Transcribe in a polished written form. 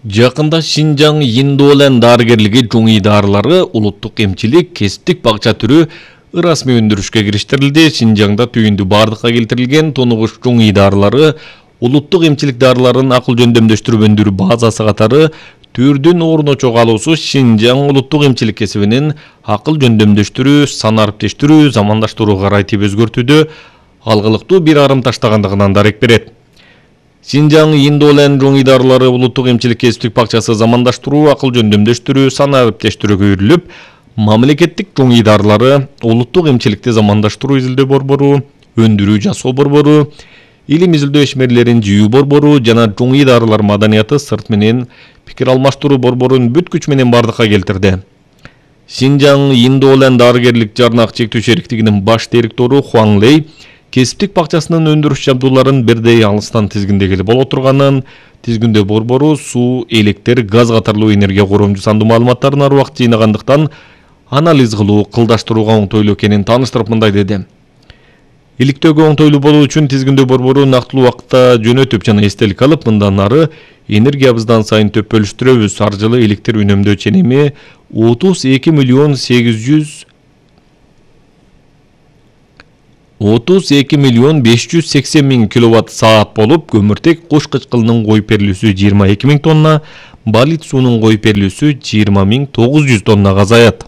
Жакында Шинжаң Индолен дарыгерлиги жуңий дарылары улуттук эмчилик кесиптик бакча түрү ырасмий өндүрүшкө кириштирилди. Шинжаңда түйүндү бардыкка келтирилген тонугуш жуңий дарылары улуттук эмчилик дарыларын акыл жөндөмдөштүрүп өндүрүү базасы катары түрдүн орун очого алуусу Шинжаң улуттук эмчилик кесибинин акыл жөндөмдөштүрүү, сан ариптештирүү, замандаштыруу карайтып өзгөртүүдө алгылыктуу бир арым таштагандыгынан дарек берет. Шинжаң Индолен жуңий дарылары улуттук эмчилик кесиптик бакчасы замандаштыруу, акыл жөндөмдөштүрүү, сан ариптештирүүгө үйрүлүп, мамлекеттик жуңий дарылары улуттук эмчиликти замандаштыруу изилдөө борбору, өндүрүү жасоо борбору, илим изилдөө ишмерлерин жыйуу борбору жана жуңий дарылар маданияты сырт менен пикир алмаштыруу борборун бүт күч менен бардыкка келтирди. Шинжаң Индолен дарыгерлик жарнак чектөө шериктигинин баш директору Хуан Лей кесиптик бакчасынын өндүрүш жабдууларын бирдей алыстан тизгиндегиле боло турганын, тизгиндөө борбору суу, электр, газ катарлуу энергия коромжу сандуу маалыматтарын ар убакыт жыйнагандыктан анализ кылуу, кылдаштырууга оңтойлуу экенин тааныштырып мындай деди. Иликтөөгө оңтойлуу болуу үчүн тизгиндөө борбору нактылуу убакытта жөнөтүп жана эстелик алып, мындан ары энергиябыздан сайын төп бөлүштүрөбүз. Ар жылы электр үнөмдөө ченеми 32 миллион 580 миң киловатт саат болуп, көмүртек куш кычкылынын коюп берилүүсү 22 миң тонна, балит суунун коюп берилүүсү 20 900 тоннага азаят.